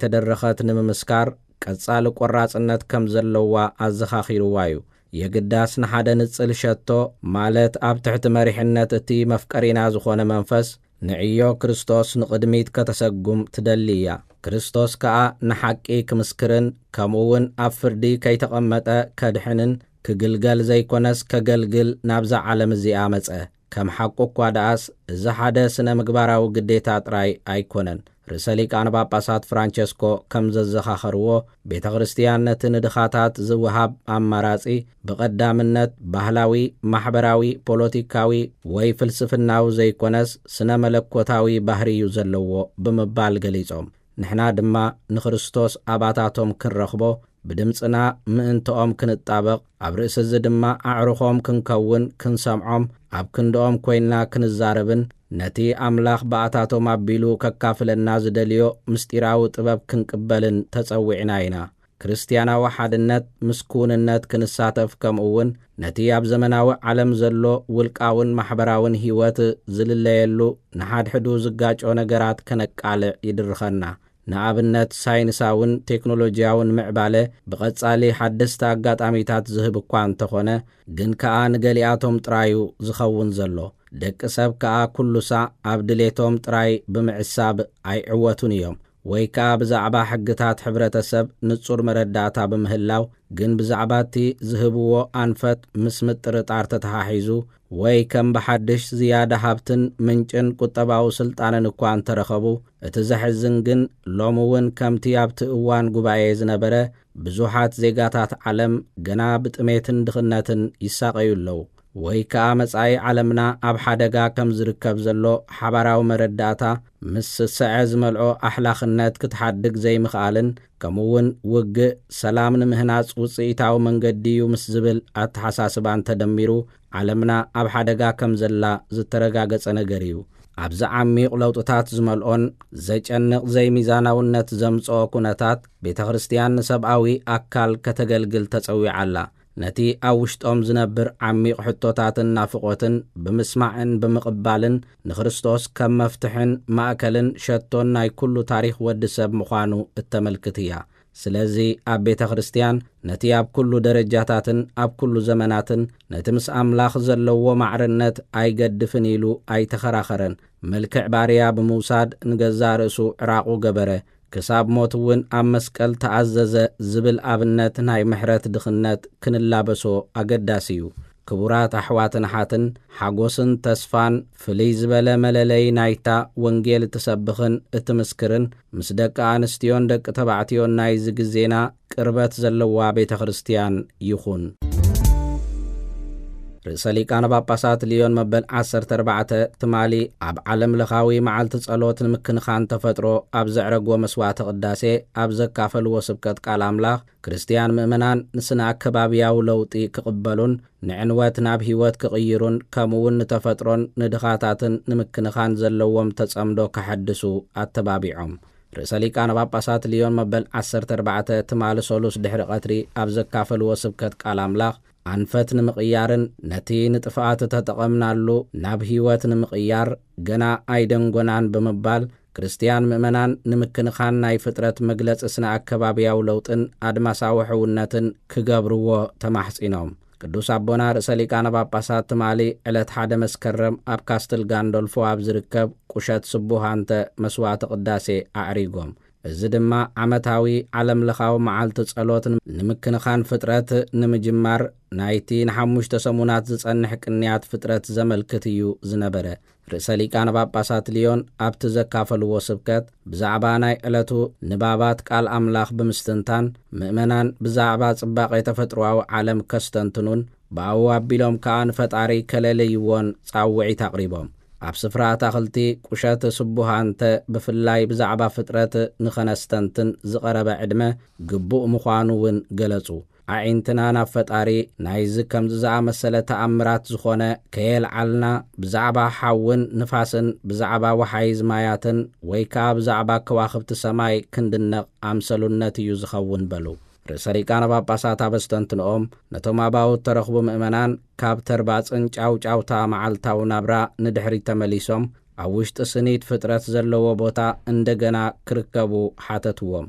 ዝተደረኸት ንምምስካር ቀጻሊ ቆራጽነት ከም ዘለዋ ኣዘኻኺርዋ እዩ። የግዳስ ንሓደ ንጽል ሸቶ፣ ማለት ኣብ ትሕቲ መሪሕነት እቲ መፍቀሪና ዝኾነ መንፈስ፣ ንዕዮ ክርስቶስ ንቕድሚት ከተሰጉም ትደሊ እያ። ክርስቶስ ከኣ ንሓቂ ክምስክርን ከምኡ እውን ኣብ ፍርዲ ከይተቐመጠ ከድሕንን ክግልገል ዘይኮነስ ከገልግል ናብዛ ዓለም እዚኣ መጸ። ከም ሓቁ እኳ ደኣስ፣ እዚ ሓደ ስነ ምግባራዊ ግዴታ ጥራይ ኣይኮነን። ርእሰ ሊቃነ ጳጳሳት ፍራንቸስኮ ከም ዘዘኻኸርዎ፣ ቤተ ክርስቲያን ነቲ ንድኻታት ዝወሃብ ኣማራጺ ብቐዳምነት ባህላዊ፣ ማሕበራዊ፣ ፖለቲካዊ ወይ ፍልስፍናዊ ዘይኮነስ ስነ መለኮታዊ ባህሪ እዩ ዘለዎ ብምባል ገሊጾም፣ ንሕና ድማ ንክርስቶስ ኣባታቶም ክንረኽቦ፣ ብድምጽና ምእንትኦም ክንጣበቕ፣ ኣብ ርእሲ እዚ ድማ ኣዕሩኾም ክንከውን፣ ክንሰምዖም፣ ኣብ ክንድኦም ኮይንና ክንዛረብን ነቲ ኣምላኽ ብኣታቶም ኣቢሉ ከካፍለና ዝደልዮ ምስጢራዊ ጥበብ ክንቅበልን ተጸዊዕና ኢና። ክርስትያናዊ ሓድነት ምስ ክውንነት ክንሳተፍ፣ ከምኡ እውን ነቲ ኣብ ዘመናዊ ዓለም ዘሎ ውልቃውን ማሕበራውን ህይወት ዝልለየሉ፣ ንሓድሕዱ ዝጋጮ ነገራት ከነቃልዕ ይድርኸና። ንኣብነት፣ ሳይንሳውን ቴክኖሎጂያውን ምዕባለ ብቐጻሊ ሓደስቲ ኣጋጣሚታት ዝህብ እኳ እንተኾነ፣ ግን ከኣ ንገሊኣቶም ጥራዩ ዝኸውን ዘሎ። ደቂ ሰብ ከኣ ኩሉ ሳዕ ኣብ ድሌቶም ጥራይ ብምዕሳብ ኣይዕወቱን እዮም። ወይ ከኣ ብዛዕባ ሕግታት ሕብረተሰብ ንጹር መረዳእታ ብምህላው፣ ግን ብዛዕባ እቲ ዝህብዎ ኣንፈት ምስ ምጥርጣር ተተሓሒዙ፣ ወይ ከም ብሓድሽ ዝያዳ ሃብትን ምንጭን ቁጠባዊ ስልጣንን እኳ እንተረኸቡ፣ እቲ ዘሕዝን ግን ሎሚ እውን ከምቲ ኣብቲ እዋን ጉባኤ ዝነበረ ብዙሓት ዜጋታት ዓለም ገና ብጥሜትን ድኽነትን ይሳቐዩ ኣለዉ። ወይ ከኣ መጻኢ ዓለምና ኣብ ሓደጋ ከም ዝርከብ ዘሎ ሓባራዊ መረዳእታ ምስ ስስዐ ዝመልኦ ኣሕላኽነት ክትሓድግ ዘይምኽኣልን፣ ከምኡ እውን ውግእ ሰላም ንምህናጽ ውጽኢታዊ መንገዲ እዩ ምስ ዝብል ኣተሓሳስባን ተደሚሩ፣ ዓለምና ኣብ ሓደጋ ከም ዘላ ዝተረጋገጸ ነገር እዩ። ኣብዚ ዓሚቕ ለውጥታት ዝመልኦን ዘጨንቕ ዘይሚዛናውነት ዘምጽኦ ኩነታት፣ ቤተ ክርስቲያን ንሰብኣዊ ኣካል ከተገልግል ተጸዊዓ ኣላ። ነቲ ኣብ ውሽጦም ዝነብር ዓሚቕ ሕቶታትን ናፍቖትን ብምስማዕን ብምቕባልን፣ ንክርስቶስ ከም መፍትሕን ማእከልን ሸቶን ናይ ኩሉ ታሪኽ ወዲ ሰብ ምዃኑ እተመልክት እያ። ስለዚ ኣብ ቤተ ክርስቲያን ነቲ ኣብ ኩሉ ደረጃታትን ኣብ ኩሉ ዘመናትን ነቲ ምስ ኣምላኽ ዘለዎ ማዕርነት ኣይገድፍን ኢሉ ኣይተኸራኸረን። መልክዕ ባርያ ብምውሳድ ንገዛእ ርእሱ ዕራቑ ገበረ፣ ክሳብ ሞት እውን ኣብ መስቀል ተኣዘዘ ዝብል ኣብነት ናይ ምሕረት ድኽነት ክንላበሶ ኣገዳሲ እዩ። ክቡራት ኣሕዋትን ኣሓትን፣ ሓጎስን ተስፋን ፍልይ ዝበለ መለለይ ናይታ ወንጌል እትሰብኽን እትምስክርን ምስ ደቂ ኣንስትዮን ደቂ ተባዕትዮን ናይዚ ግዜና ቅርበት ዘለዋ ቤተ ክርስቲያን ይኹን። ርእሰ ሊቃነ ጳጳሳት ልዮን መበል ዓሰርተ ኣርባዕተ ትማሊ ኣብ ዓለም ለኻዊ መዓልቲ ጸሎት ንምክንኻን ተፈጥሮ ኣብ ዘዕረግዎ መስዋዕተ ቅዳሴ ኣብ ዘካፈልዎ ስብከት ቃል ኣምላኽ፣ ክርስትያን ምእመናን ንስነ ኣከባብያዊ ለውጢ ክቕበሉን ንዕንወት ናብ ህይወት ክቕይሩን ከምኡ እውን ንተፈጥሮን ንድኻታትን ንምክንኻን ዘለዎም ተጸምዶ ከሐድሱ ኣተባቢዖም። ርእሰ ሊቃነ ጳጳሳት ልዮን መበል ዓሰርተ ኣርባዕተ ትማሊ ሰሉስ ድሕሪ ቀትሪ ኣብ ዘካፈልዎ ስብከት ቃል ኣምላኽ፣ ኣንፈት ንምቕያርን ነቲ ንጥፍኣት እተጠቐምናሉ ናብ ህይወት ንምቕያር ገና ኣይደንጎናን ብምባል፣ ክርስትያን ምእመናን ንምክንኻን ናይ ፍጥረት መግለጺ ስነ ኣከባብያዊ ለውጥን ኣድማሳዊ ሕውነትን ክገብርዎ ተማሕጺኖም። ቅዱስ ኣቦና ርእሰ ሊቃነ ጳጳሳት ትማሊ ዕለት ሓደ መስከረም ኣብ ካስትል ጋንዶልፎ ኣብ ዝርከብ ቁሸት ስቡሃንተ መስዋዕተ ቅዳሴ ኣዕሪጎም። እዚ ድማ ዓመታዊ ዓለም ለኻዊ መዓልቲ ጸሎት ንምክንኻን ፍጥረት ንምጅማር ናይቲ ንሓሙሽተ ሰሙናት ዝጸንሕ ቅንያት ፍጥረት ዘመልክት እዩ ዝነበረ። ርእሰ ሊቃነ ጳጳሳት ልዮን ኣብቲ ዘካፈልዎ ስብከት ብዛዕባ ናይ ዕለቱ ንባባት ቃል ኣምላኽ ብምስትንታን፣ ምእመናን ብዛዕባ ጽባቐ ተፈጥሮኣዊ ዓለም ከስተንትኑን ብኣኡ ኣቢሎም ከኣ ንፈጣሪ ከለለይዎን ጻውዒት ኣቕሪቦም። ኣብ ስፍራ ኣታኽልቲ ቁሸት ስቡሃንተ ብፍላይ ብዛዕባ ፍጥረት ንኸነስተንትን ዝቐረበ ዕድመ ግቡእ ምዃኑ እውን ገለጹ። ኣዒንትና ናብ ፈጣሪ ናይዚ ከምዚ ዝኣመሰለ ተኣምራት ዝኾነ ከየልዓልና፣ ብዛዕባ ሓውን ንፋስን ብዛዕባ ወሓይዝ ማያትን ወይ ከኣ ብዛዕባ ከዋኽብቲ ሰማይ ክንድነቕ ኣምሰሉነት እዩ ዝኸውን በሉ። ርእሰ ሊቃነ ጳጳሳት ኣብ ኣስተንትንኦም፣ ነቶም ኣባውት ተረኽቡ ምእመናን ካብ ተርባጽን ጫውጫውታ መዓልታዊ ናብራ ንድሕሪት ተመሊሶም ኣብ ውሽጢ ስኒት ፍጥረት ዘለዎ ቦታ እንደገና ክርከቡ ሓተትዎም።